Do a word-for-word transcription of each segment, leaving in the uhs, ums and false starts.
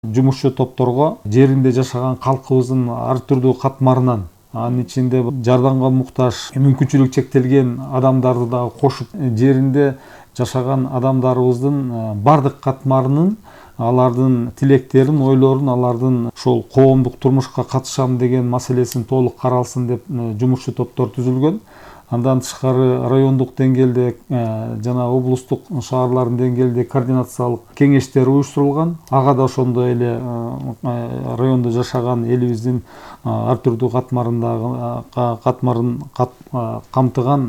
Жумушчу топторго жеринде жашаган калкыбыздын ар түрдүү катмарынан, анын ичинде жардамга муктаж, мүмкүнчүлүгү чектелген адамдарды да кошуп, жеринде жашаган адамдарыбыздын бардык катмарынын алардын тилектерин, ойлорун, алардын ошол коомдук турмушка катышам деген маселесин толук каралсын деп жумушчу топтор түзүлгөн. Андан тышкары райондук деңгээлде жана облустук шаарлардын деңгээлде координациялык кеңештер уюштурулган. Ага да ошондой эле райондо жашаган элибиздин ар түрдүү катмарындагы катмарын камтыган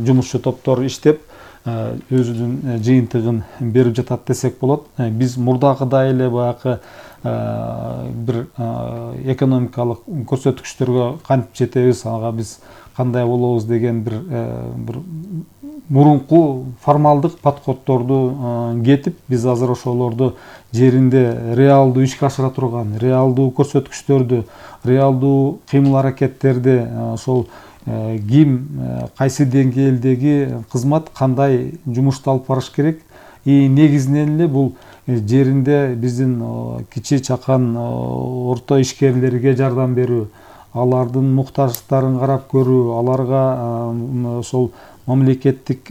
жумушчу топтор иштеп, өзүнүн жыйынтыгын берип жатат десек болот. Биз мурдагыдай эле баягы бир экономикалык көрсөткүчтөргө кантип жетебиз, ага биз кандай болобуз деген бир бир мурунку формалдык подходторду кетип, биз азыр ошолорду жеринде реалдуу ишке ашыра турган, реалдуу көрсөткүчтөрдү, реалдуу кыймыл аракеттерди, ошол ким кайсы деңгээлдеги кызмат кандай жумушту алып барыш керек, и негизинен эле бул жеринде биздин кичи чакан орто ишкерлерге жардам берүү, алардын муктаждыктарын карап көрүү, аларга ошол мамлекеттик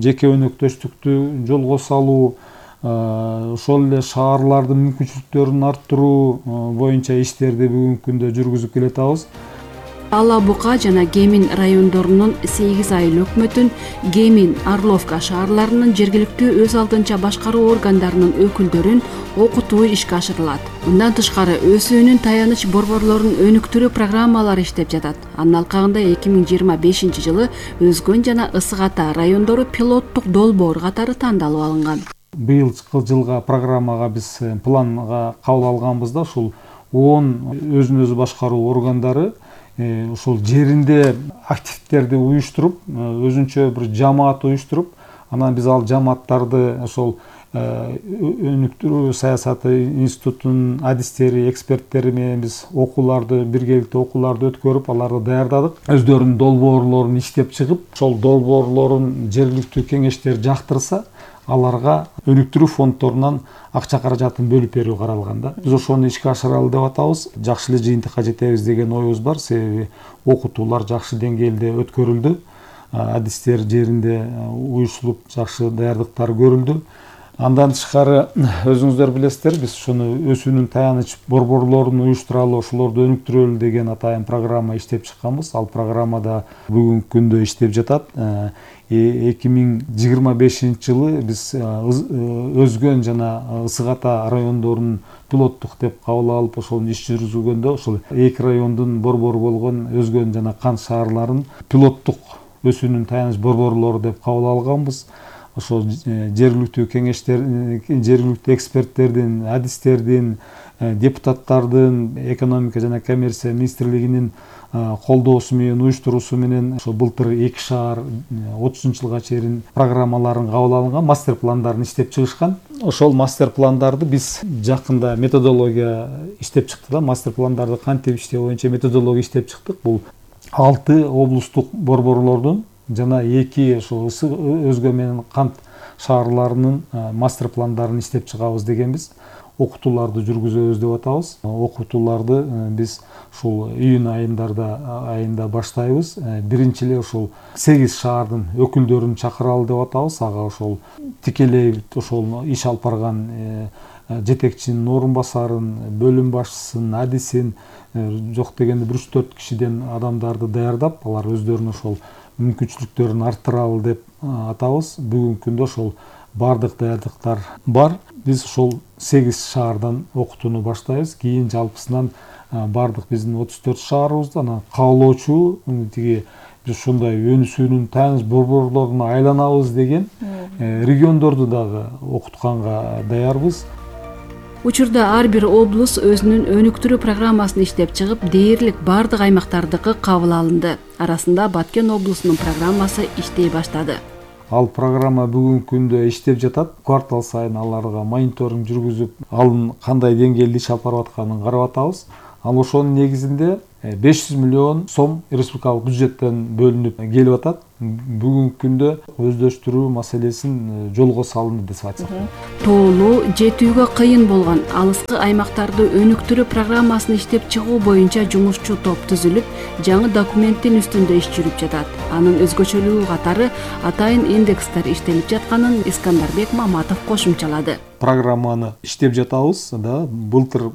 жеке өнөктөштүктү жолго салуу, ошол эле шаарлардын мүмкүнчүлүктөрүн арттыруу боюнча иштерди бүгүнкү күндө жүргүзүп келатабыз. Ала Бука жана Кемин райондорунун сегиз айыл өкмөтүн, Кемин, Орловка шаарларынын жергиликтүү өз алдынча башкаруу органдарынын өкүлдөрүн окутуу ишке ашырылат. Мындан тышкары өөсүүнүн таяныч борборлорун өнүктүрүү программалары иштеп жатат. Анын алкагында эки миң жыйырма бешинчи жылы Өзгөн жана Ысык Ата райондору пилоттук долбоор катары тандалып алынган. Быйылкы жылга программага биз планга кабыл алганбыз да, ушул он өзүн өзү башкаруу органдары ошол жеринде активдерди уюштуруп, өзүнчө бир жамаат уюштуруп, анан биз ал жамааттарды ошол өнүктүрүү саясаты институтунун адистери, эксперттери менен биз окууларды, биргеликте окууларды өткөрүп, аларды даярдадык. Өздөрүнүн долбоорлорун иштеп чыгып, ошол долбоорлорун жергиликтүү кеңештер жактырса, аларга өнүктүрүү фонддорунан акча каражатын бөлүп берүү каралган да. Биз ошону ишке ашыралы деп атабыз. Жакшы эле жыйынтыкка жетебиз деген оюбуз бар, себеби окутуулар жакшы деңгээлде өткөрүлдү. Адистер жеринде уюштурулуп, жакшы даярдыктар көрүлдү. Андан тышкары өзүңүздөр билесиздер, биз ошону өсүүнүн таяныч борборлорун уюштуралы, ошолорду өнүктүрөлү деген атайын программа иштеп чыкканбыз. Ал программада бүгүнкү күндө иштеп жатат. эки миң жыйырма бешинчи жылы биз Өзгөн жана Ысык Ата райондорунун пилоттук деп кабыл алып, ошону иш жүргүзгөндө ошол эки райондун борбору болгон Өзгөн жана Кант шаарларын пилоттук өсүүнүн таяныч борборлору деп кабыл алганбыз. Ошол жергиликтүү кеңештер, жергиликтүү эксперттердин, адистердин, депутаттардын, экономика жана коммерция министрлигинин колдоосу менен, уюштуруусу менен ошо былтыр эки шаар отузунчу жылга чейин программаларын кабыл алынган, мастер пландарын иштеп чыгышкан. Ошол мастер пландарды биз жакында методология иштеп чыкты да, мастер пландарды кантип иштөө боюнча методология иштеп чыктык. Бул алты облустук борборлордун жана эки ошо Өзгөн менен Кант шаарларынын мастер пландарын иштеп чыгабыз дегенбиз. Окутууларды жүргүзөбүз деп атабыз. Окутууларды биз ушул июнь айындарда айында баштайбыз. Биринчи эле ошол сегиз шаардын өкүлдөрүн чакыралы деп атабыз. Ага ошол тикелей ошол иш алып барган жетекчинин орун басарын, бөлүм башчысын, адисин, жок дегенде бир үч төрт кишиден адамдарды даярдап, алар өздөрүнүн ошол мүмкүнчүлүктөрүн арттыралы деп атабыз. Бүгүнкү күндө ошол бардык даярдыктар бар. Биз ошол сегиз шаардан окутууну баштайбыз. Кийин жалпысынан бардык биздин отуз төрт шаарыбызда анан каалоочу тиги биз ушундай өнүсүүнүн таяныч борборлоруна айланабыз деген региондорду дагы окутканга даярбыз. Учурда ар бир облус өзүнүн өнүктүрүү программасын иштеп чыгып, дээрлик бардык аймактардыкы кабыл алынды. Арасында Баткен облусунун программасы иштей баштады. Ал программа бүгүнкү күндө иштеп жатат. Квартал сайын аларга мониторинг жүргүзүп, алын кандай деңгээлде иш алып барып атканын карап атабыз. Ал ошонун негизинде беш жүз миллион сом республикалык бюджеттен бөлүнүп келип атат. бүгүнкү күндө өздөштүрүү маселесин жолго салынды деп айтсак. Тоолуу, жетүүгө кыйын болгон алыскы аймактарды өнүктүрүү программасын иштеп чыгуу боюнча жумушчу топ түзүлүп, жаңы документтин үстүндө иш жүрүп жатат. Анын өзгөчөлүгү катары атайын индекстер иштелип жатканын Искандарбек Маматов кошумчалады. Программаны иштеп жатабыз, да, былтыр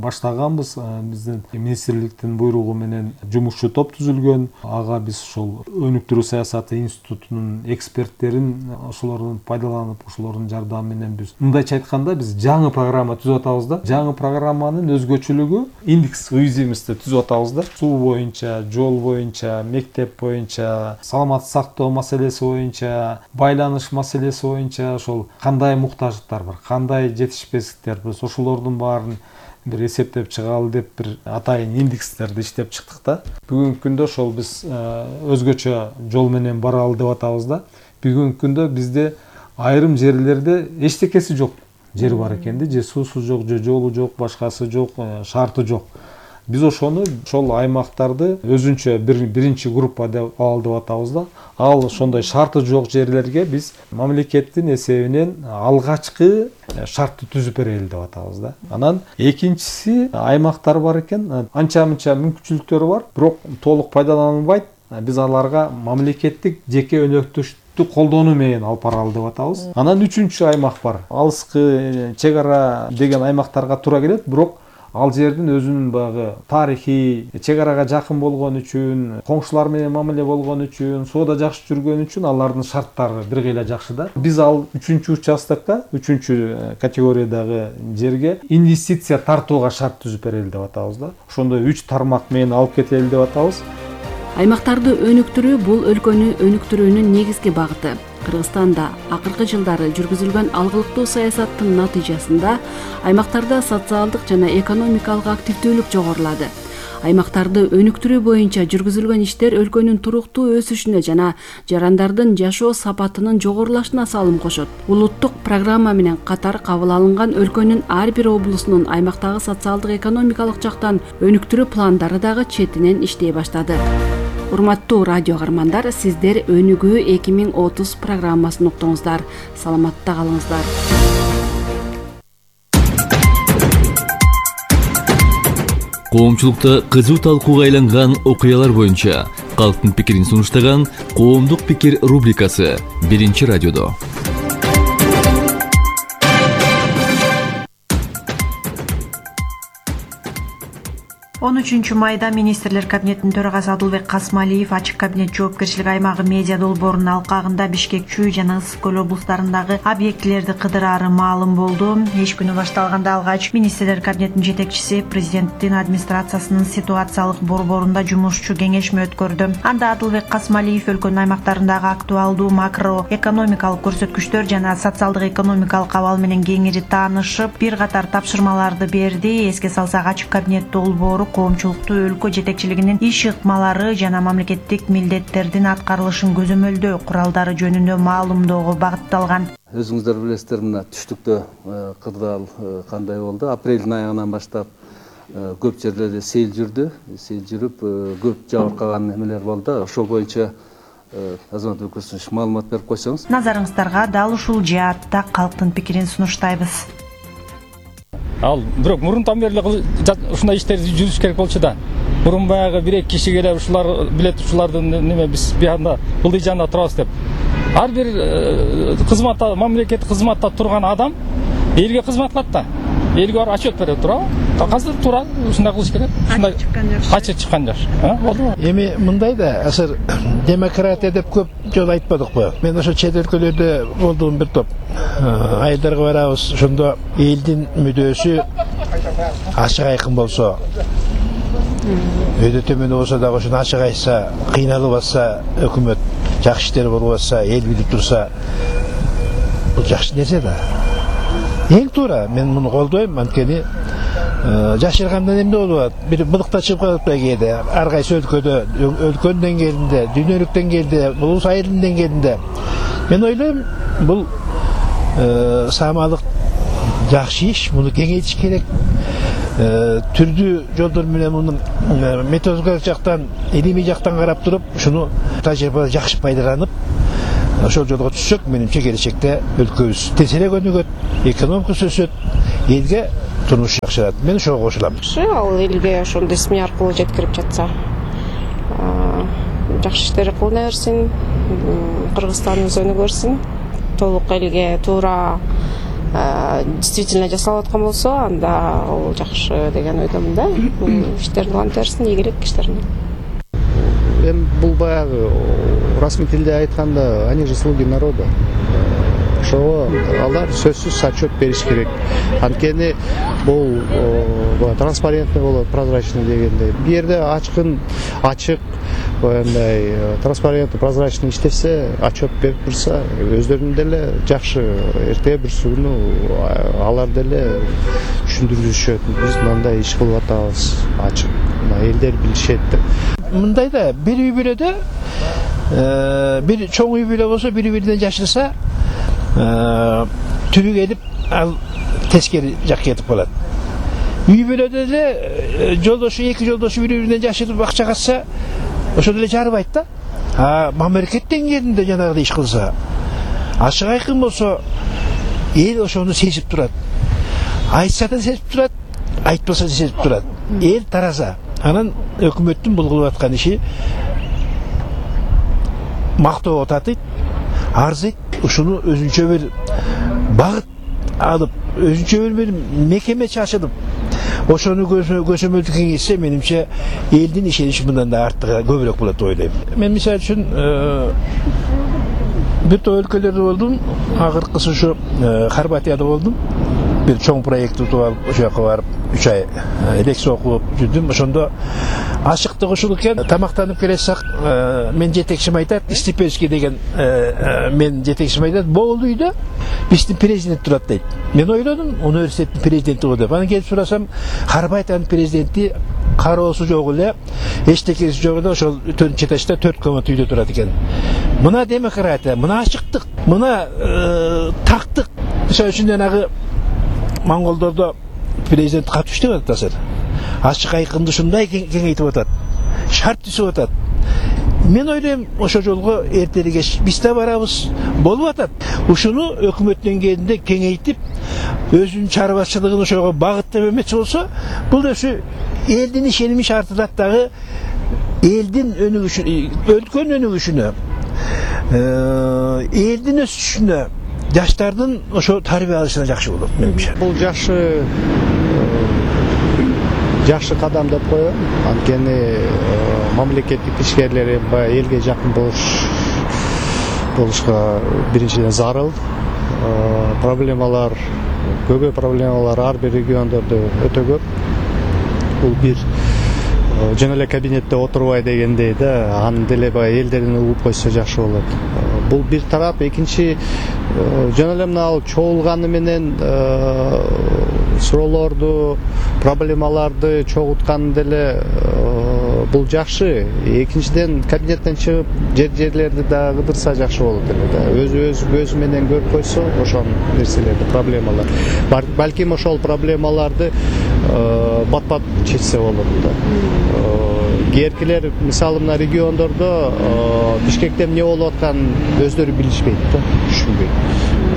баштаганбыз. Биздин министрликтин буйругу менен жумушчу топ түзүлгөн. Ага биз ошол өнүктүрүү саясаты институтунун эксперттерин ошолордун пайдаланып, ошолордун жардамы менен биз мындайча айтканда биз жаңы программа түзүп атабыз да. Жаңы программанын өзгөчөлүгү индекс уязвимости түзүп атабыз да. Суу боюнча, жол боюнча, мектеп боюнча, саламатты сактоо маселеси боюнча, байланыш маселеси боюнча ошол кандай муктаждыктар бар, кандай жетишпестиктер, биз ошолордун баарын бир эсептеп чыгалы деп бир атайын индекстерди иштеп чыктык да. Бүгүнкү күндө ошол биз өзгөчө жол менен баралы деп атабыз да. Бүгүнкү күндө бизде айрым жерлерде эчтекеси жок жер бар экен да, же суусу жок, же жолу жок, башкасы жок, шарты жок. Биз ошону ошол аймактарды өзүнчө бир биринчи группа деп алалы деп атабыз да. Ал ошондой шарты жок жерлерге биз мамлекеттин эсебинен алгачкы шартты түзүп берели деп атабыз да. Анан экинчиси аймактар бар экен, анча-мынча мүмкүнчүлүктөрү бар, бирок толук пайдаланылбайт. Биз аларга мамлекеттик жеке өнөктөштүктү колдонуу менен алып баралы деп атабыз. Анан үчүнчү аймак бар. Алыскы чек ара деген аймактарга туура келет, бирок ал жердин өзүнүн багы тарихи, чек арага жакын болгон үчүн, коңшулар менен мамиле болгон үчүн, соода жакшы жүргөн үчүн алардын шарттары бир кыйла жакшы да. Биз ал үчүнчү участокко, үчүнчү категориядагы жерге инвестиция тартууга шарт түзүп берели деп атабыз да. Ошондой үч тармак менен алып кетели деп атабыз. Аймактарды өнүктүрүү бул өлкөнү өнүктүрүүнүн негизги багыты. Кыргызстанда акыркы жылдары жүргүзүлгөн алгылыктуу саясаттын натыйжасында аймактарда социалдык жана экономикалык активдүүлүк жогорулады. Аймактарды өнүктүрүү боюнча жүргүзүлгөн иштер өлкөнүн туруктуу өсүшүнө жана жарандардын жашоо сапатынын жогорулашына салым кошот. Улуттук программа менен катар кабыл алынган өлкөнүн ар бир облусунун аймактагы социалдык экономикалык жактан өнүктүрүү пландары дагы четинен иштей баштады. Урматтуу радио каармандар, сиздер Өнүгүү эки миң отуз программасын уктуңуздар. Саламатта калыңыздар. Коомчулукта кызуу талкууга айланган окуялар боюнча калктын пикирин сунуштаган Коомдук пикир рубрикасы биринчи радиодо. он үчүнчү майда министрлер кабинетинин төрагасы Адылбек Касмалиев ачык кабинет жоопкерчилик аймагы медиа долбоорунун алкагында Бишкек, Чүй жана Ысык көл облустарындагы объектилерди кыдырары маалым болду. Эч күнү башталганда алгач министрлер кабинетинин жетекчиси президенттин администрациясынын ситуациялык борборунда жумушчу кеңешме өткөрдү. Анда Адылбек Касмалиев өлкөнүн аймактарындагы актуалдуу макро экономикалык көрсөткүчтөр жана социалдык экономикалык абал менен кеңири таанышып, бир катар тапшырмаларды берди. Эске салсак, ачык кабинет долбоору коомчулуктуу өлкө жетекчилигинин иш ыкмалары жана мамлекеттик милдеттердин аткарылышын көзөмөлдөө куралдары жөнүндө маалымдоого багытталган. Өзүңүздөр билесиздер, мына түштүктө кырдаал кандай болду. Апрелдин аягынан баштап көп жерлерде сел жүрдү. Сел жүрүп, көп жабыркаган эмелер болду. Ошол боюнча Азамат Өкүсүнүч маалымат берип койсоңуз. Назарыңыздарга дал ушул жаатта калктын пикирин сунуштайбыз. Ал бирок мурунтан бери ушундай иштерди жүрүш керек болчу да. Мурун баягы бир-эки киши келип ушулар билет, ушулардын неме биз биягында ылдый жанында турабыз деп. Ар бир кызматта, мамлекеттик кызматта турган адам элге кызмат кылат да. Элге барып отчет берет, туурабы? Казыр туура ушундай кылыш керек. Ушундай ачык чыккан жакшы. Болдубу? Эми мындай да, азыр демократия деп көп жолу айтпадыкпы? Мен ошо чет өлкөлөрдө болдум бир топ. Айылдарга барабыз, ошондо элдин мүдөөсү ачык айкын болсо, өйдө төмөн болсо дагы ошону ачык айтса, кыйналып атса, өкмөт жакшы иштер болуп атса, эл билип турса, бул жакшы нерсе да. Эң туура, мен муну колдойм, анткени жашыргандан эмне болуп атат? Бир былыкта чыгып калат кээде, ар кайсы өлкөдө, өлкөнүн деңгээлинде, дүйнөлүк деңгээлде, улус айылдын деңгээлинде. Мен ойлойм, бул саамалык жакшы иш, муну кеңейтиш керек. түрдүү жолдор менен мунун методикалык жактан, илимий жактан карап туруп, ушуну тажрыйбаны жакшы пайдаланып, ошол жолго түшсөк, менимче келечекте өлкөбүз тезирээк өнүгөт, экономикасы өсөт, элге турмуш жакшырат. Мен ошого кошулам. Ал элге ошондой СМИ аркылуу жеткирип жатса, жакшы иштер кылына берсин, Кыргызстаныбыз өнүгө берсин. Толук элге туура действительно жасалып аткан болсо, анда ал жакшы деген ойдомун да. Иштерин уланта берсин, ийгилик иштерин. Эми бул баягы расмий тилде айтканда, они же слуги народа. Ошого алар сөзсүз отчет бериш керек. Анткени бул транспарентный болот, прозрачный дегендей. Бу жерде ачкын, ачык, андай транспарентный, прозрачный иштесе, отчет берип турса, өздөрүнүн деле жакшы эртеге бир күнү алар деле түшүндүрүшөт. Биз мындай иш кылып атабыз, ачык. Элдер билишет деп. Мындайда бир үй бүлөдө бир чоң үй бүлө болсо, бири биринен жашырса, түбү келип ал тескери жакка кетип калат. Үй бүлөдө эле жолдошу, эки жолдошу бири биринен жашырып акча катса, ошол эле жарыбайт да. А мамлекет деңгээлинде жанагыдай иш кылса, ачык айкын болсо, эл ошону сезип турат. Айтса да сезип турат, айтпаса да сезип турат. Эл тараза. Анан өкмөттүн бул кылып аткан иши мактоого татыйт, арзыйт, ушуну өзүнчө бир багыт алып, өзүнчө бир мекеме чачылып, ошону көзөмөлдү кеңейтсе, менимче элдин ишеничи мындан да артыгы көбүрөөк болот деп ойлойм. Мен мисалы үчүн бир топ өлкөлөрдө болдум, акыркысы ушу Хорватияда болдум. Бир чоң проект утуп алып, ошол жака барып үч ай лекция окуп жүрдүм. Ошондо ачыктык ушул экен. Тамактанып келесек, мен жетекчим айтат, Степельский деген мен жетекчим айтат, бул үйдө биздин президент турат дейт. Мен ойлодум, университеттин президенти го деп. Анан келип сурасам, Хорватиянын президенти кароосу жок эле, эчтекеси жок эле, ошол төртүнчү этажда төрт комнат үйдө турат экен. Мына демократия, мына ачыктык, мына тактык. Ошол үчүн жанагы Монголдордо президент кат түштүп атат азыр. Ачык айкынды ушундай кеңейтип атат. Шарт түзүп атат. Мен ойлойм, ошол жолго эртеги кеч биз да барабыз, болуп атат. Ушуну өкмөт деңгээлинде кеңейтип, өзүнүн чарбачылыгын ошого багыттап эметчи болсо, бул ошо элдин ишеними шартылат дагы, элдин өнүгүшүнө, өлкөнүн өнүгүшүнө, элдин өсүшүнө, жаштардын ошо тарбия алышына жакшы болот менимче. Бул жакшы жакшы кадам деп коем. Анткени мамлекеттик ишкерлер баягы элге жакын болуш болушка биринчиден зарыл. Проблемалар, көбү проблемалар ар бир региондордо өтө көп. Бул бир жөн эле кабинетте отурбай дегендей да, аны деле баягы элдерден угуп койсо жакшы болот. Бул бир тарап. Экинчи, жөн эле мына чогулганы менен суроолорду, проблемаларды чогултканы деле бул жакшы. Экинчиден, кабинеттен чыгып жер жерлерди да кыдырса жакшы болот эле да. Өзү өз көзү менен көрүп койсо ошол нерселерди, проблемалар. Балким ошол проблемаларды бат-бат чечсе болот да. Кээркилер, мисалы, мына региондордо Бишкекте эмне болуп атканын өздөрү билишпейт да, түшүнбөйт.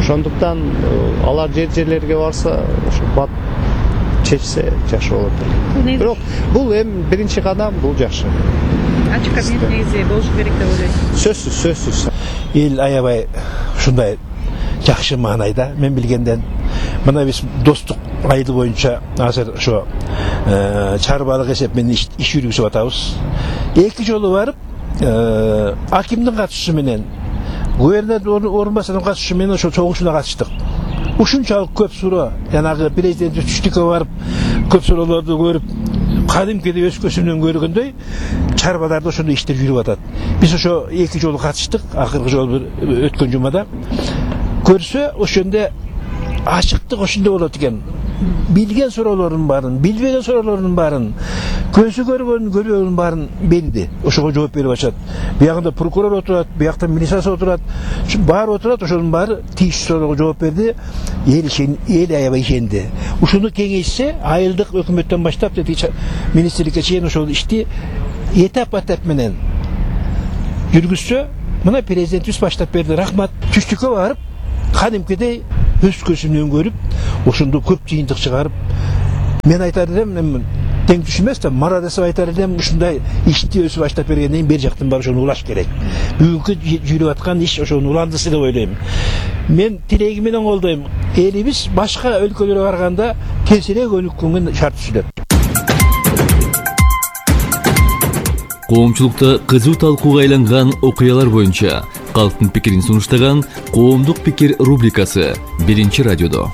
Ошондуктан алар жер жерлерге барса, ошо бат чечсе жакшы болот. Бирок бул эми биринчи кадам, бул жакшы. Ачык кабинет негизи болушу керек деп ойлойсуз? Сөзсүз, сөзсүз. Эл аябай ушундай жакшы маанайда, мен билгенден. Мына биз достук айылы боюнча азыр ошо чарбалык эсеп менен иш жүргүзүп атабыз. Эки жолу барып, акимдин катышуусу менен, губернатор орунбасарынын катышуусу менен ошо чогулушуна катыштык. Ушунчалык көп суроо, жанагы президент түштүккө барып, көп суроолорду көрүп, кадимкидей өз көзү менен көргөндөй чарбаларда ошондой иштер жүрүп атат. Биз ошо эки жолу катыштык, акыркы жолу өткөн жумада. Көрсө ошондо ачыктык ошондой болот экен. Билген суроолордун баарын, билбеген суроолордун баарын көзү көргөн көрбөгөнүн баарын белди. Ошого жооп берип атышат. Биягында прокурор отурат, биякта милициясы отурат. Ушу баары отурат, ошонун баары тийиштүү суроого жооп берди. Эл ишен, эл аябай ишенди. Ушуну кеңейсе, айылдык өкмөттөн баштап деди министрликке чейин ошол ишти этап этап менен жүргүзсө, мына президентибиз баштап берди. Рахмат. Түштүккө барып, кадимкидей өз көзүнөн көрүп, ошондо көп жыйынтык чыгарып, мен айтар элем, тең түш эмес да, марадасып айтар элем, ушундай ишти өзү баштап бергенден кийин бер жактан барып ошону улаш керек. Бүгүнкү жүрүп аткан иш ошонун уландысы деп ойлойм. Мен тилеги менен колдойм. Элибиз башка өлкөлөргө барганда тезирээк өнүккөнгө шарт түзүлөт. Коомчулукта кызуу талкууга айланган окуялар боюнча калктын пикирин сунуштаган Коомдук пикир рубрикасы биринчи радиодо.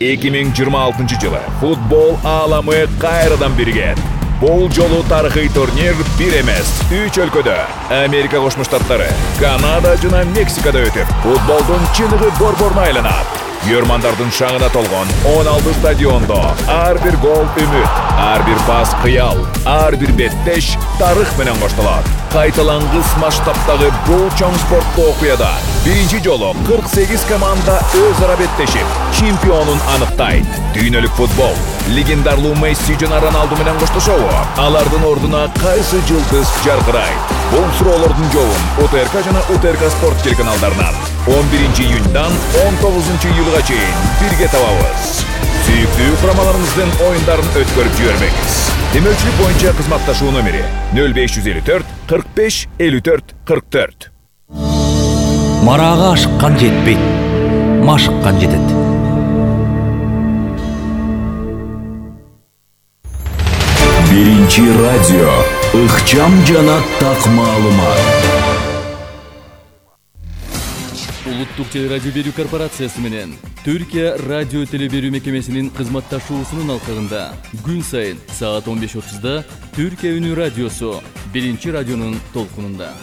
эки миң жыйырма алтынчы жылы футбол ааламы кайрадан биригет. Бул жолу тарыхый турнир бир эмес, үч өлкөдө, Америка Кошмо Штаттары, Канада жана Мексикада өтүп, футболдун чыныгы борборуна айланат. Көрмандардын шаңына толгон он алты стадиондо ар бир гол үмүт, ар бир пас кыял, ар бир беттеш тарых менен коштолот. Кайталангыс масштабтагы бул чоң спорттуу окуяда биринчи жолу кырк сегиз команда өз ара беттешип, чемпионун аныктайт. Дүйнөлүк футбол легендарлуу Месси жана Роналду менен коштошобу? Алардын ордуна кайсы жылдыз жаркырайт? Бул суроолордун жообун УТРК жана УТРК спорт телеканалдарынан он биринчи июньдан он тогузунчу июлга чейин бирге табабыз. Сүйүктүү курамаларыңыздын оюндарын өткөрүп жибербеңиз. Демөчүлүк боюнча кызматташуу номери нөл беш жүз элүү төрт кырк беш элүү төрт кырк төрт. Марага ашыккан жетпейт, машыккан жетет. Биринчи радио, ыкчам жана так маалымат. Улуттук телерадио берүү корпорациясы менен Түркия радио телеберүү мекемесинин кызматташуусунун алкагында күн сайын саат он беш отузда Түркия үнү радиосу биринчи радионун толкунунда.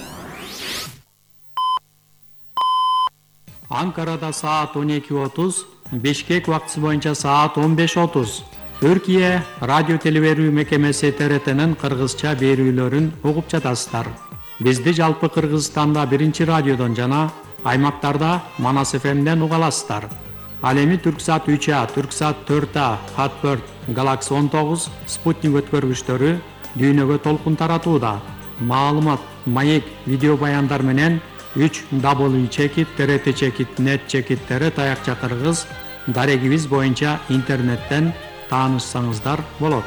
Анкарада саат он эки отуз, Бишкек убактысы боюнча саат он беш отуз. Түркия радио телеберүү мекемеси Т Р Т'нин кыргызча берүүлөрүн угуп жатасыздар. Бизди жалпы Кыргызстанда биринчи радиодон жана аймактарда Манас эф эмден уга аласыздар. Ал эми Түрксат үч А, Түрксат төрт А, Хатберт, Галакси он тогуз, Спутник өткөргүчтөрү дүйнөгө толкун таратууда. Маалымат, маек, видео баяндар менен үч дабл чекит Т Р Т чекит нет чекит Т Р таякча кыргыз дарегибиз боюнча интернеттен таанышсаңыздар болот.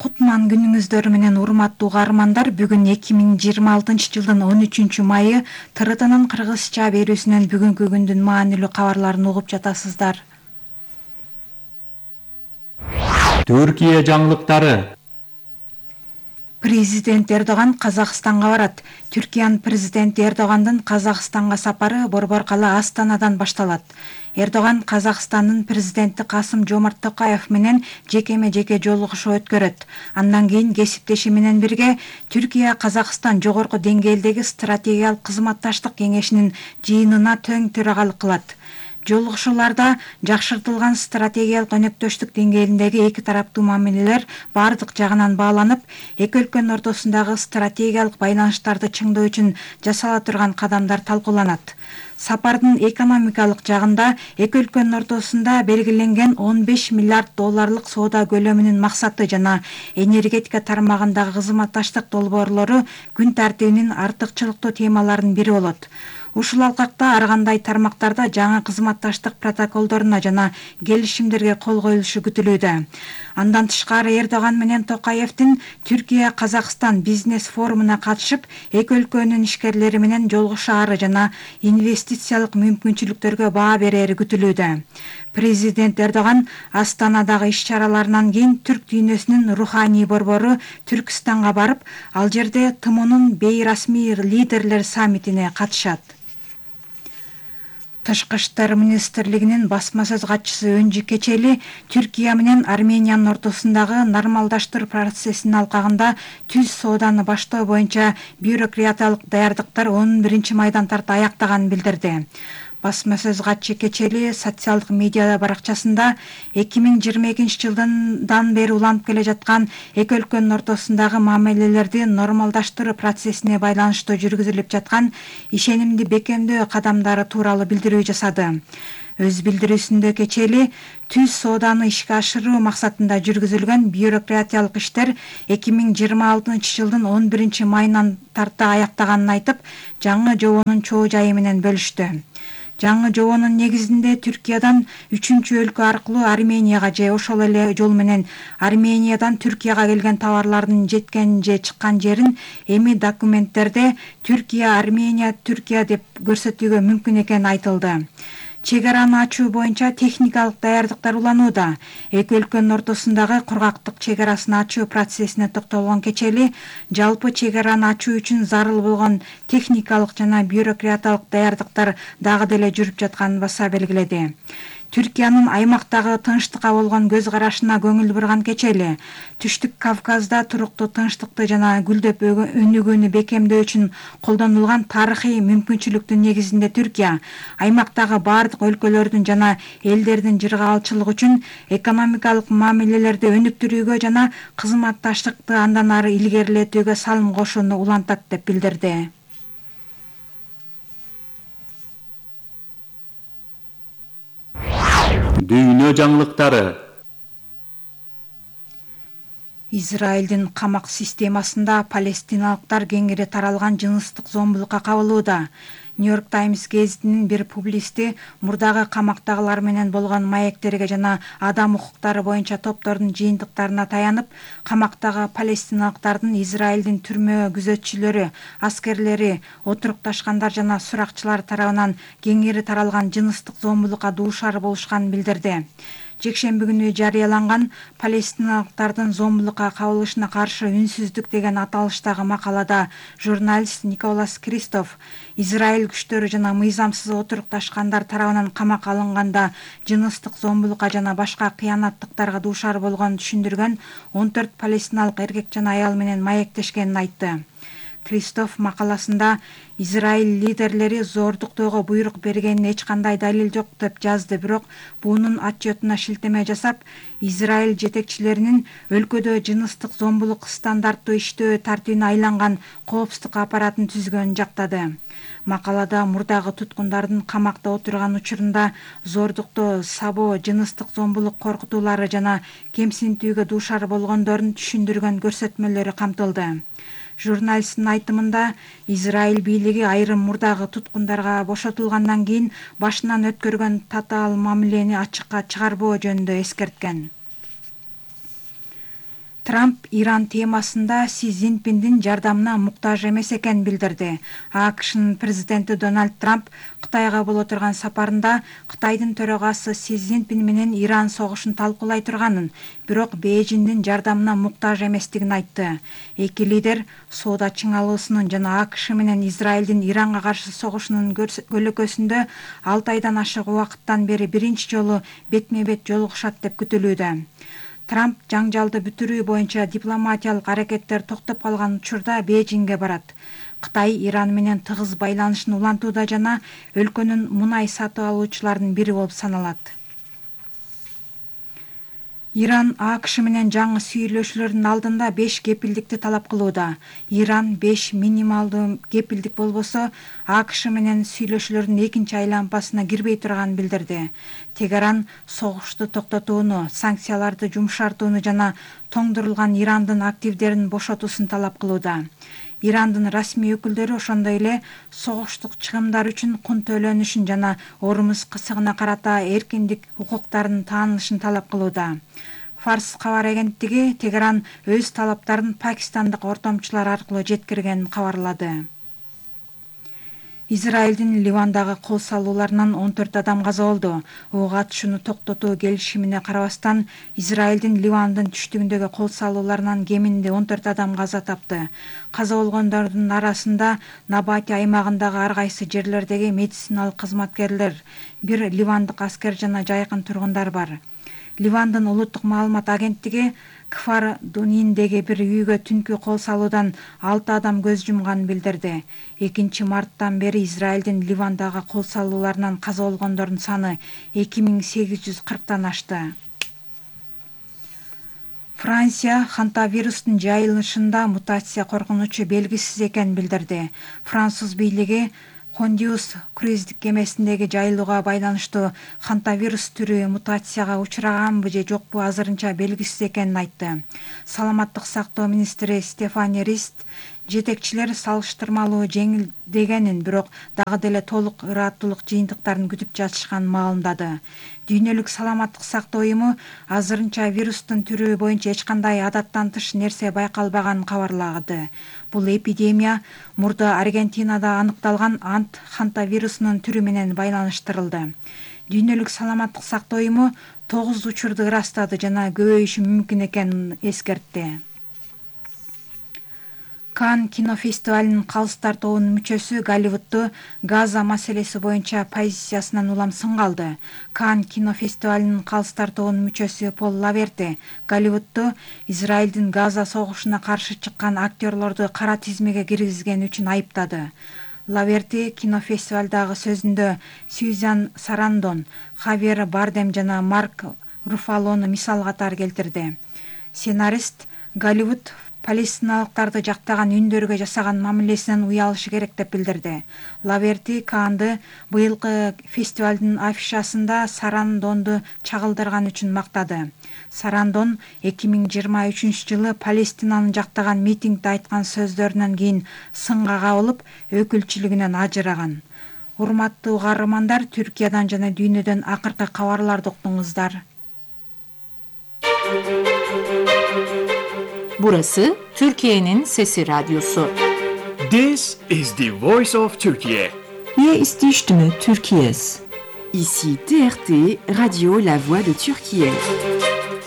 Кутман күнүңүздөр менен урматтуу угармандар, бүгүн эки миң жыйырма алтынчы жылдын он үчүнчү майы Т Р Т'нын кыргызча берүүсүнөн бүгүнкү күндүн маанилүү кабарларын угуп жатасыздар. Түркия жаңылыктары. Президент Эрдоган Казакстанга барат. Түркиянын президенти Эрдогандын Казакстанга сапары борбор кала Астанадан башталат. Эрдоган Казакстандын президенти Касым Жомарт Токаев менен жекеме-жеке жолугушуу өткөрөт. Андан кийин кесиптеши менен бирге Түркия Казакстан жогорку деңгээлдеги стратегиялык кызматташтык кеңешинин жыйынына тең төрагалык кылат. Жолугушууларда жакшыртылган стратегиялык өнөктөштүк деңгээлиндеги эки тараптуу мамилелер бардык жагынан бааланып, эки өлкөнүн ортосундагы стратегиялык байланыштарды чыңдоо үчүн жасала турган кадамдар талкууланат. Сапардын экономикалык жагында эки өлкөнүн ортосунда белгиленген он беш миллиард долларлык соода көлөмүнүн максаты жана энергетика тармагындагы кызматташтык долбоорлору күн тартибинин артыкчылыктуу темаларынын бири болот. Ушул алкакта ар кандай тармактарда жаңы кызматташтык протоколдоруна жана келишимдерге кол коюлушу күтүлүүдө. Андан тышкары Эрдоган менен Токаевдин Түркия Казакстан бизнес форумуна катышып, эки өлкөнүн ишкерлери менен жолугушаары жана инвестициялык мүмкүнчүлүктөргө баа берери күтүлүүдө. Президент Эрдоган Астанадагы иш-чараларынан кийин түрк дүйнөсүнүн руханий борбору Түркстанга барып, ал жерде Т М Онун бейрасмий лидерлер саммитине катышат. Тышкы иштер министрлигинин басма сөз катчысы Өнжү Кечели Түркия менен Армениянын ортосундагы нормалдаштыруу процессинин алкагында түз сооданы баштоо боюнча бюрократиялык даярдыктар он биринчи майдан тарта аяктаганын билдирди. Басма сөз катчы кечели социалдык медиа баракчасында эки миң жыйырма экинчи жылдан бери уланып келе жаткан эки өлкөнүн ортосундагы мамилелерди нормалдаштыруу процессине байланыштуу жүргүзүлүп жаткан ишенимди бекемдөө кадамдары тууралуу билдирүү жасады. Өз билдирүүсүндө кечели түз сооданы ишке ашыруу максатында жүргүзүлгөн бюрократиялык иштер эки миң жыйырма алтынчы жылдын он биринчи майынан тарта аяктаганын айтып, жаңы жобонун чоо жайы менен бөлүштү. Жаңы жобонун негизинде Түркиядан үчүнчү өлкө аркылуу Арменияга же ошол эле жол менен Армениядан Түркияга келген товарлардын жеткен же чыккан жерин эми документтерде Түркия, Армения, Түркия деп көрсөтүүгө мүмкүн экени айтылды. Чек араны ачуу боюнча техникалык даярдыктар уланууда. Эки өлкөнүн ортосундагы кургактык чек арасын ачуу процессине токтолгон кечели жалпы чек араны ачуу үчүн зарыл болгон техникалык жана бюрократиялык даярдыктар дагы деле жүрүп жатканын баса белгиледи. Түркиянын аймактагы тынчтыкка болгон көз карашына көңүл бурган кечели Түштүк Кавказда туруктуу тынчтыкты жана гүлдөп өнүгүүнү бекемдөө үчүн колдонулган тарыхый мүмкүнчүлүктүн негизинде Түркия аймактагы бардык өлкөлөрдүн жана элдердин жыргаалчылыгы үчүн экономикалык мамилелерди өнүктүрүүгө жана кызматташтыкты андан ары илгерилетүүгө салым кошууну улантат деп билдирди. Дүйнө жаңылыктары. Израилдин камак системасында палестиналыктар кеңири таралган жыныстык зомбулукка кабылууда. Нью-Йорк Таймс гезитинин бир публисти мурдагы камактагылар менен болгон маектерге жана адам укуктары боюнча топтордун жыйынтыктарына таянып, камактагы палестиналыктардын Израилдин түрмө күзөтчүлөрү, аскерлери, отурукташкандар жана суракчылар тарабынан кеңири таралган жыныстык зомбулукка дуушар болушканын билдирди. Жекшемби күнү жарыяланган палестиналыктардын зомбулукка кабылышына каршы үнсүздүк деген аталыштагы макалада журналист Николас Кристоф Израиль күчтөрү жана мыйзамсыз отурукташкандар тарабынан камакка алынганда жыныстык зомбулукка жана башка кыянаттыктарга дуушар болгонун түшүндүргөн он төрт палестиналык эркек жана аял менен маектешкенин айтты. Кристоф макаласында Израиль лидерлери зордуктоого буйрук бергенин эч кандай далил жок деп жазды, бирок бунун отчетуна шилтеме жасап, Израиль жетекчилеринин өлкөдө жыныстык зомбулук стандарттуу иштөө тартибине айланган коопсуздук аппаратын түзгөнүн жактады. Макалада мурдагы туткундардын камакта отурган учурунда зордуктоо, сабоо, жыныстык зомбулук коркутуулары жана кемсинтүүгө дуушар болгондорун түшүндүргөн көрсөтмөлөрү камтылды. Журналисттин айтымында Израиль бийлиги айрым мурдагы туткундарга бошотулгандан кийин башынан өткөргөн татаал мамилени ачыкка чыгарбоо жөнүндө эскерткен. Трамп Иран темасында Си Цзиньпиндин жардамына муктаж эмес экенин билдирди. АКШнын президенти Дональд Трамп Кытайга боло турган сапарында Кытайдын төрагасы Си Цзиньпин менен Иран согушун талкуулай турганын, бирок Бейжиңдин жардамына муктаж эместигин айтты. Эки лидер соода чыңалуусунун жана АКШ менен Израилдин Иранга каршы согушунун көлөкөсүндө алты айдан ашык убакыттан бери биринчи жолу бетме-бет жолугушат деп күтүлүүдө. Трамп жаңжалды бүтүрүү боюнча дипломатиялык аракеттер токтоп калган учурда Бейжиңге барат. Кытай Иран менен тыгыз байланышын улантууда жана өлкөнүн мунай сатып алуучуларынын бири болуп саналат. Иран АКШ менен жаңы сүйлөшүүлөрдүн алдында беш кепилдикти талап кылууда. Иран беш минималдуу кепилдик болбосо АКШ менен сүйлөшүүлөрдүн экинчи айлампасына кирбей турганын билдирди. Тегеран согушту токтотууну, санкцияларды жумшартууну жана тоңдурулган Ирандын активдерин бошотуусун талап кылууда. Ирандын расмий өкүлдөрү ошондой эле согуштук чыгымдар үчүн кун төлөнүшүн жана Ормуз кысыгына карата эркиндик укуктарынын таанылышын талап кылууда. Фарс кабар агенттиги Тегеран өз талаптарын пакистандык ортомчулар аркылуу жеткиргенин кабарлады. Израилдин Ливандагы кол салууларынан он төрт адам каза болду. Ок атышууну токтотуу келишимине карабастан, Израилдин Ливандын түштүгүндөгү кол салууларынан кеминде он төрт адам каза тапты. Каза болгондордун арасында Набати аймагындагы ар кайсы жерлердеги медициналык кызматкерлер, бир ливандык аскер жана жайкын тургундар бар. Ливандын улуттук маалымат агенттиги Кфар Дуниндеги бир үйгө түнкү кол салуудан алты адам көз жумганын билдирди. экинчи марттан бери Израилдин Ливандагы кол салууларынан каза болгондордун саны эки миң сегиз жүз кырктан ашты. Франция хантавирустун жайылышында мутация коркунучу белгисиз экенин билдирди. Француз бийлиги Хондиус круиздик кемесиндеги жайылууга байланыштуу хантавирус түрү мутацияга учураганбы же жокпу азырынча белгисиз экенин айтты. Саламаттык сактоо министри Стефани Рист жетекчилер салыштырмалуу жеңилдегенин, бирок дагы деле толук ыраттуулук жыйынтыктарын күтүп жатышканын маалымдады. Дүйнөлүк саламаттык сактоо уюму азырынча вирустун түрү боюнча эч кандай адаттан тыш нерсе байкалбаганын кабарлады. Бул эпидемия мурда Аргентинада аныкталган ант хантавирусунун түрү менен байланыштырылды. Дүйнөлүк саламаттык сактоо уюму тогуз учурду ырастады жана көбөйүшү мүмкүн экенин эскертти. Кан кинофестивалынын калыстар тобунун мүчөсү Голливудду Газа маселеси боюнча позициясынан улам сынга алды. Кан кинофестивалынын калыстар тобунун мүчөсү Пол Лаверти Голливудду Израилдин Газа согушуна каршы чыккан актерлорду кара тизмеге киргизгени үчүн айыптады. Лаверти кинофестивалдагы сөзүндө Сьюзан Сарандон, Хавьер Бардем жана Марк Руфалону мисал катары келтирди. Сценарист Голливуд палестиналыктарды жактаган үндөргө жасаган мамилесинен уялышы керек деп билдирди. Лаверти Канды быйылкы фестивалдын афишасында Сарандонду чагылдырган үчүн мактады. Сарандон эки миң жыйырма үчүнчү жылы Палестинаны жактаган митингде айткан сөздөрүнөн кийин сынга кабылып, өкүлчүлүгүнөн ажыраган. Урматтуу каармандар, Түркиядан жана дүйнөдөн акыркы кабарларды уктуңуздар. Burası Türkiye'nin Sesi Radyosu. This is the voice of Turkey. Hier ist die Stimme Türkiye's. Ici T R T, Radio La Voix de Türkiye.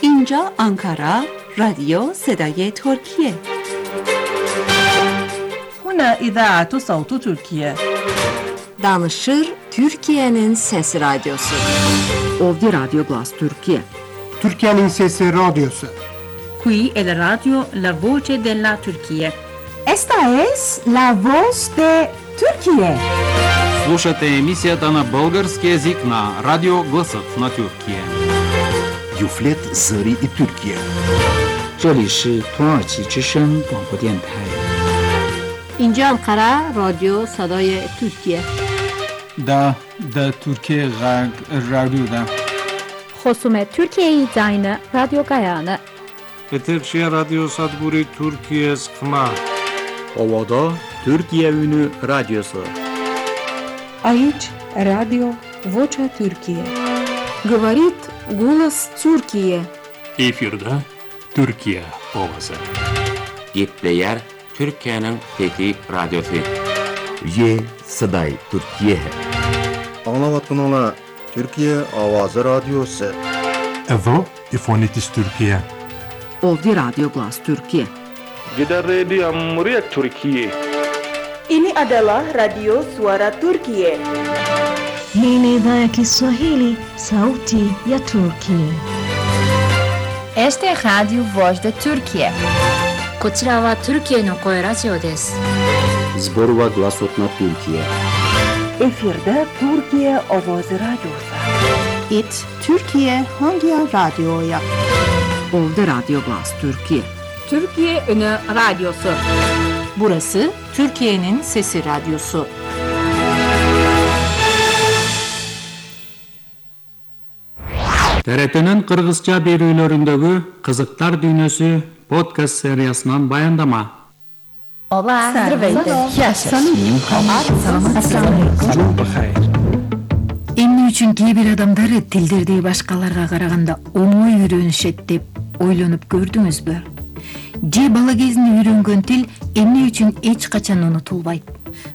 Inca Ankara, Radio Sedaye Türkiye. Huna İdaatu Sautu Türkiye. Danışır Türkiye'nin Sesi Radyosu. Ovdi Radio Glas Türkiye. Türkiye'nin Sesi Radyosu. Qui è la radio La Voce della Turquía. Esta es la voz de Turquía. Слушате емисията на български език на Радио Гласът на Türkiye. Юфлет Зари и Türkiye. 这里是土耳其之声广播电台。 اینجا انقره رادیو صدای ترکیه. دا دا Türkiye Radyo'da. خصوم ترکیه زاین رادیو گایانı. Eterşehir Radyo Sadburi Türkiye Sıkma. Ovada Türkiye Ünü Radyosu. Aici Radio Vocea Türkiye. Говорит голос Türkiye. Efirde Türkiye ovası. Gepleyer Türkiye'nin Fethi Radyosu. Ye Saday Türkiye. Anlavatınala Türkiye Avazı Radyosu. Evo İfonitis Türkiye. Ovdi Radio Glas Türkiye. Kita Radio Muria Türkiye. Ini adalah Radio Suara Turkiye. Hii ni idhaa ya Kiswahili, sauti ya Turkiye. Este es Radio Voz de Turkiye. こちらは Türkiyeの声ラジオです。 Zborova Glasot na Türkiye. Efirde Türkiye Avazı Radyosu. It Türkiye hangi radyoya? Ovdi Radio Glas Türkiye. Türkiye Ünü Radyosu. Burası Türkiye'nin Sesi Radyosu. T R T'nin Kırgızca berүүлөрүндөгү Кызыктар дүйнөсү подкаст сериясынан баяндама. Ola, здравейте. Эмне үчүн кээ бир адамдар тилдерди башкаларга караганда оңой үйрөнүшөт деп ойлонуп көрдүңүзбү? Же бала кезинде үйрөнгөн тил эмне үчүн эч качан унутулбайт?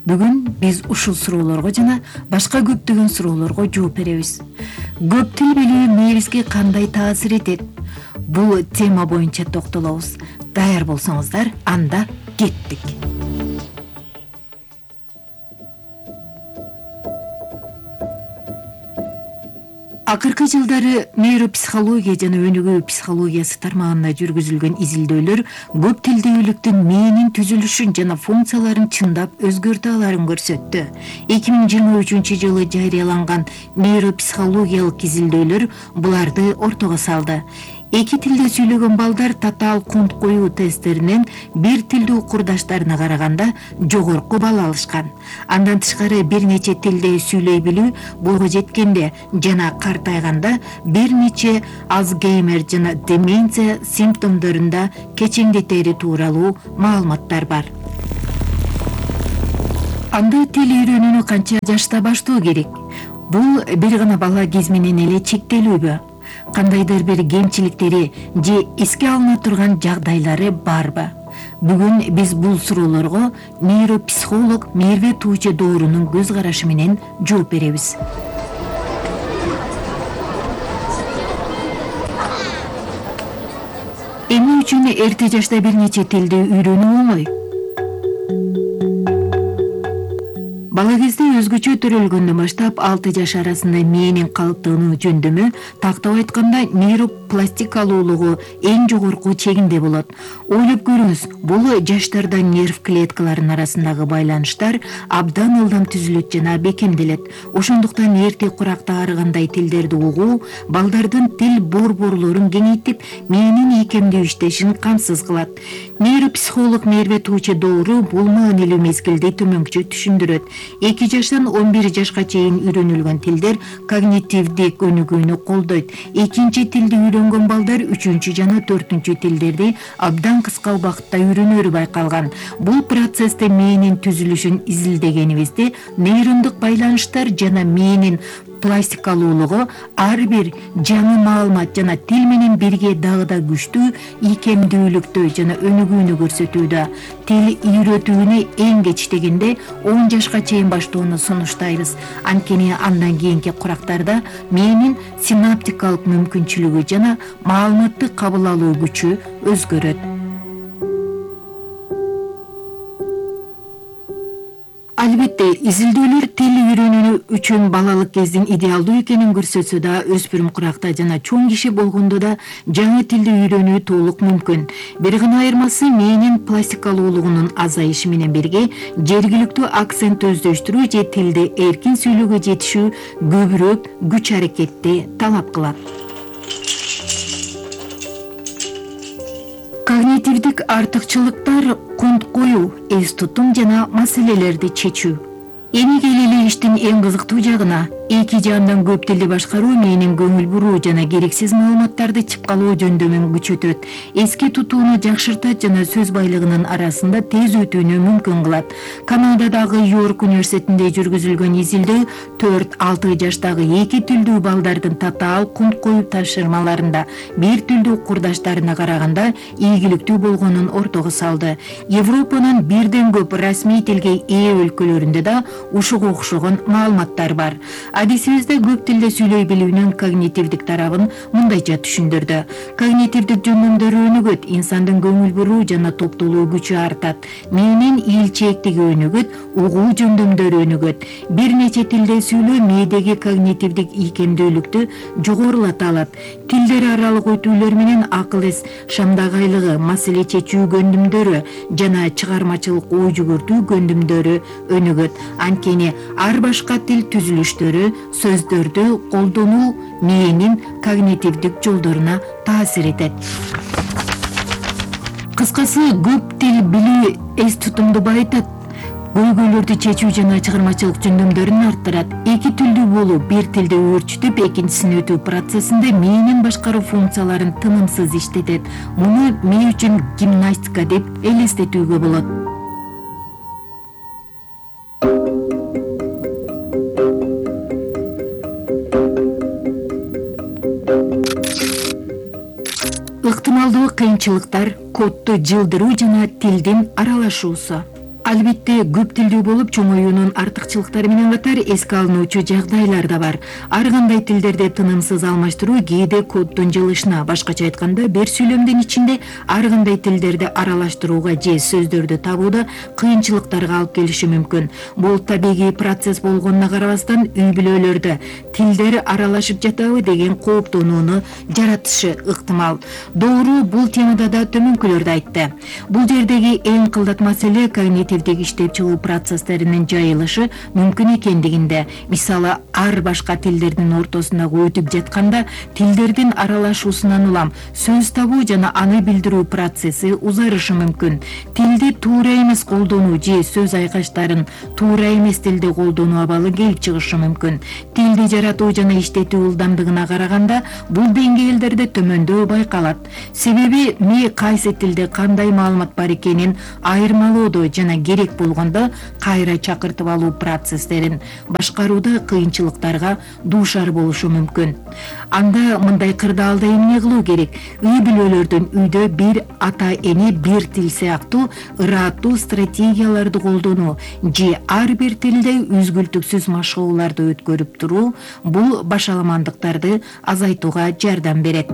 Бүгүн биз ушул суроолорго жана башка көптөгөн суроолорго жооп беребиз. Көп тил билүү мээбизге кандай таасир этет? Бул тема боюнча токтолобуз. Даяр болсоңуздар, анда кеттик. Акыркы жылдары нейропсихология жана өнүгүү психологиясы тармагында жүргүзүлгөн изилдөөлөр көп тилдүүлүктүн мээнин түзүлүшүн жана функцияларын чындап өзгөртө аларын көрсөттү. эки миң жыйырма үчүнчү жылы жарыяланган нейропсихологиялык изилдөөлөр буларды ортого салды. Эки тилде сүйлөгөн балдар татаал кунт коюу тесттеринен бир тилдүү курдаштарына караганда жогорку балл алышкан. Андан тышкары бир нече тилде сүйлөй билүү бойго жеткенде жана картайганда бир нече Алцгеймер жана деменция симптомдорунда кечеңдетери тууралуу маалыматтар бар. Анда тил үйрөнүүнү канча жашта баштоо керек? Бул бир гана бала кез менен эле чектелүүбү? Кандайдыр бир кемчиликтери же эске алына турган жагдайлары барбы? Бүгүн биз бул суроолорго нейропсихолог Мерве Тууче Доорунун көз карашы менен жооп беребиз. Эмне үчүн эрте жашта бир нече тилди үйрөнүү оңой? Бала кезде өзгөчө төрөлгөндөн баштап алты жаш арасында мээнин калыптыгынын жөндөмү тактап айтканда нейропластикалуулугу эң жогорку чегинде болот. Ойлоп көрүңүз, бул жаштарда нерв клеткаларынын арасындагы байланыштар абдан ылдам түзүлөт жана бекемделет. Ошондуктан эрте куракта арыгандай тилдерди угуу балдардын тил борборлорун кеңейтип, мээнин ийкемдүү иштешин камсыз кылат. Нейропсихолог Мерве Тууче Доору бул маанилүү мезгилди төмөнкүчө түшүндүрөт. эки жаштан он бир жашка чейин үйрөнүлгөн тилдер когнитивдик өнүгүүнү колдойт. Экинчи тилди үйрөнгөн балдар үчүнчү жана төртүнчү тилдерди абдан кыска убакытта үйрөнөрү байкалган. Бул процессте мээнин түзүлүшүн изилдегенибизде нейрондук байланыштар жана мээнин пластикалуулугу ар бир жаңы маалымат жана тил менен бирге дагы да күчтүү ийкемдүүлүктү жана өнүгүүнү көрсөтүүдө. Тил үйрөтүүнү эң кеч дегенде он жашка чейин баштоону сунуштайбыз. Анткени андан кийинки курактарда мээнин синаптикалык мүмкүнчүлүгү жана маалыматты кабыл алуу күчү өзгөрөт. Албетте, изилдөөлөр тил үйрөнүү үчүн балалык кездин идеалдуу экенин көрсөтсө да, өспүрүм куракта жана чоң киши болгондо да жаңы тилди үйрөнүү толук мүмкүн. Бир гана айырмасы мээнин пластикалуулугунун азайышы менен бирге жергиликтүү акцент өздөштүрүү же тилди эркин сүйлөөгө жетишүү көбүрөөк күч аракетти талап кылат. Когнитивдик артыкчылыктар кунт коюу, эс тутум жана маселелерди чечүү. Эми келели иштин эң кызыктуу жагына. Эки жаандан көп тилди башкаруу мээнин көңүл буруу жана керексиз маалыматтарды чыпкалоо жөндөмүн күчөтөт. Эске тутууну жакшыртат жана сөз байлыгынын арасында тез өтүүнү мүмкүн кылат. Канададагы Йорк университетинде жүргүзүлгөн изилдөө төрт алты жаштагы эки тилдүү балдардын татаал кунт коюу тапшырмаларында бир тилдүү курдаштарына караганда ийгиликтүү болгонун ортого салды. Европанын бирден көп расмий тилге ээ өлкөлөрүндө да ушуга окшогон маалыматтар бар. Адисибизде көп тилде сүйлөй билүүнүн когнитивдик тарабын мындайча түшүндүрдү. Когнитивдик жөндөмдөрү өнүгөт, инсандын көңүл буруу жана топтолуу күчү артат. Мээнин ийилчээктиги өнүгөт, угуу жөндөмдөрү өнүгөт. Бир нече тилде сүйлөө мээдеги когнитивдик ийкемдүүлүктү жогорулата алат. Тилдер аралык өтүүлөр менен акыл эс шамдагайлыгы, маселе чечүү көндүмдөрү жана чыгармачылык ой жүгүртүү көндүмдөрү өнүгөт. Анткени ар башка тил түзүлүштөрү сөздөрдү колдонуу мээнин когнитивдик жолдоруна таасир этет. Кыскасы, көп тил билүү эс тутумду байытат, көйгөйлөрдү чечүү жана чыгармачылык жөндөмдөрүн арттырат. Эки тилдүү болуу бир тилди өөрчүтүп, экинчисин өтүү процессинде мээнин башкаруу функцияларын тынымсыз иштетет. Муну мээ үчүн гимнастика деп элестетүүгө болот. Ыктымалдуу кыйынчылыктар, кодду жылдыруу жана тилдин аралашуусу. Албетте көп тилдүү болуп чоңоюунун артыкчылыктары менен катар эске алынуучу жагдайлар да бар. Ар кандай тилдерде тынымсыз алмаштыруу кээде коддун жылышына, башкача айтканда бир сүйлөмдүн ичинде ар кандай тилдерди аралаштырууга же сөздөрдү табууда кыйынчылыктарга алып келиши мүмкүн. Бул табигый процесс болгонуна карабастан үй бүлөлөрдө тилдер аралашып жатабы деген кооптонууну жаратышы ыктымал. Доору бул темада да төмөнкүлөрдү айтты. Бул жердеги эң кылдат маселе когнитивдик иштеп чыгуу процесстеринин жайылышы мүмкүн экендигинде. Мисалы, ар башка тилдердин ортосундагы өтүп жатканда тилдердин аралашуусунан улам сөз табуу жана аны билдирүү процесси узарышы мүмкүн. Тилди туура эмес колдонуу же сөз айкаштарын туура эмес тилде колдонуу абалы келип чыгышы мүмкүн. Тилди жаратуу жана иштетүү ылдамдыгына караганда бул деңгээлдерде төмөндөө байкалат. Себеби ми кайсы тилде кандай маалымат бар экенин айырмалоодо жана керек болгондо кайра чакыртып алуу процесстерин башкарууда кыйынчылыктарга дуушар болушу мүмкүн. Анда мындай кырдаалда эмне кылуу керек? Үй бүлөлөрдүн үйдө бир ата эне бир тил сыяктуу ыраттуу стратегияларды колдонуу же ар бир тилде үзгүлтүксүз машыгууларды өткөрүп туруу бул башаламандыктарды азайтууга жардам берет.